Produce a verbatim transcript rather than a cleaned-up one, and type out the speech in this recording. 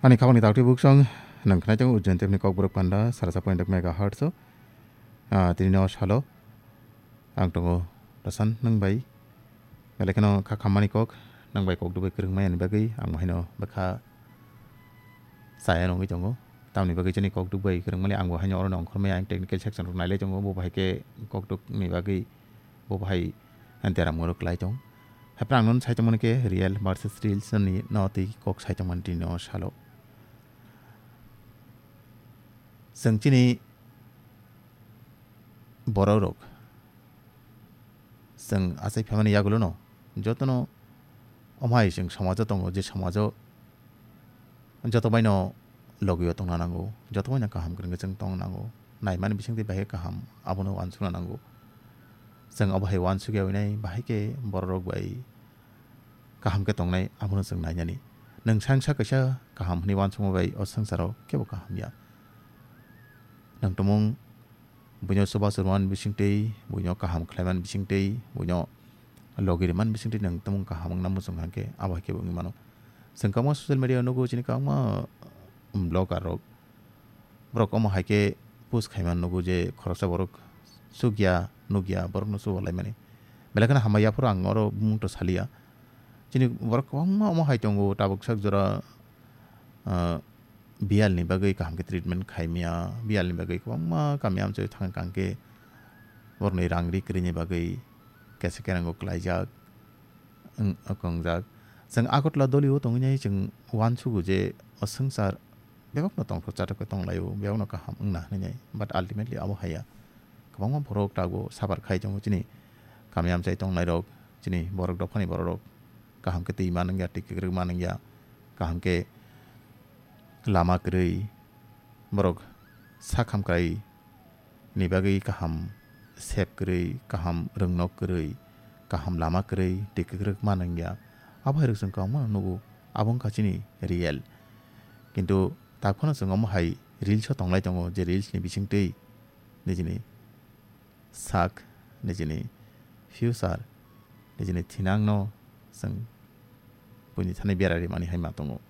Ani khapangni taktwi buksong, nang khnai tongo Ujjain T F ni Kokborok panda, sara sa point ek megahertz o. Ah, tini no salo, ang tongo Rasan nang bai. Belai kheno kha khammani kok, nang bai kok dubui kwrwng maya ni bagwi, ang bo haino bwkha saya nungwi tongo. Tamni bagwi chini kok dubui kwrwng mali, ang bo haino oro nongkhor maya, ang technical section rok nailai tongo, bo bahai khe kok duk ni bagwi, bo bahai deram ngorok lai tong. Haphang ang non sai tongmani khe real versus reels ni no tei kok sai tongmani tini no salo. Chwng chini borok rok, chwng achai phaimani yagulo no, jotono omo hai chwng somajo tongo, je somajo joto baino logio tongna nango, joto baino kaham kwrwngwi chwng tongna nango. Naimani bisingtwi bahai kaham abono uansukna nango. Chwng obo hai uansukya winai bahai khe borok rok bai kaham khe tongnai, abono chwng nainani. Nwng sangsa kaisa kaham hwnwi uansukma bai o swngcharo kebo kaham ya. Nwng tumung buino chubachu rwmani bisingtwi, buino kaham khlaimani bisingtwi, buino logi rwmani bisingtwi nwng tumung kaham wngna muchung hwnkhe abo hai khe wngwi mano. Chwng kwbangma social media o nugo chini kwbangma, um, blogger rok. Borok omo hai khe post khaima nugo je khoroksa borok chukya, nukya, borokno chuba laimani. Belai kheno hambai yaphuru ang oro bumung to saliya. Chini borok kwbangma omo hai tongo, tabuk sak jora, ah, biyal ni bagwi kaham khe treatment khaimya, biyal ni bagwi kwbangma kami amchoi thang kang khe borokni rang ri kwrwini bagwi kesa kerang o klaijak, wng, wng kongjak. Chwng Agartala doli o tongwi nai chwng uansugo je o swngchar bebakno tongthok chathok khe tonglaio, bebakno kaham wngna hwnwi nai. But ultimately abo haiya. Kwbangma borok tabuk suffer khai tongo chini kami amchai tongnairok, chini borok dophani bororok. Kaham khe twi manwngya, twi kwkrwk manwngya, kaham khe lama kwrwi, borok sak hamkrai ni bagwi kaham sep kwrwi, kaham rwngnok kwrwi, kaham lama kwrwi, twi kwkrwk manwngya. Abo hai rok chwng kwbangma nugo, abo wngkha chini real. Kintu tak phano chwng omo hai reels o tonglai tongo, je reels ni bisingtwi nijini sak, nijini future, nijini thinangno chwng buini thani bera rimani hai ma tongo.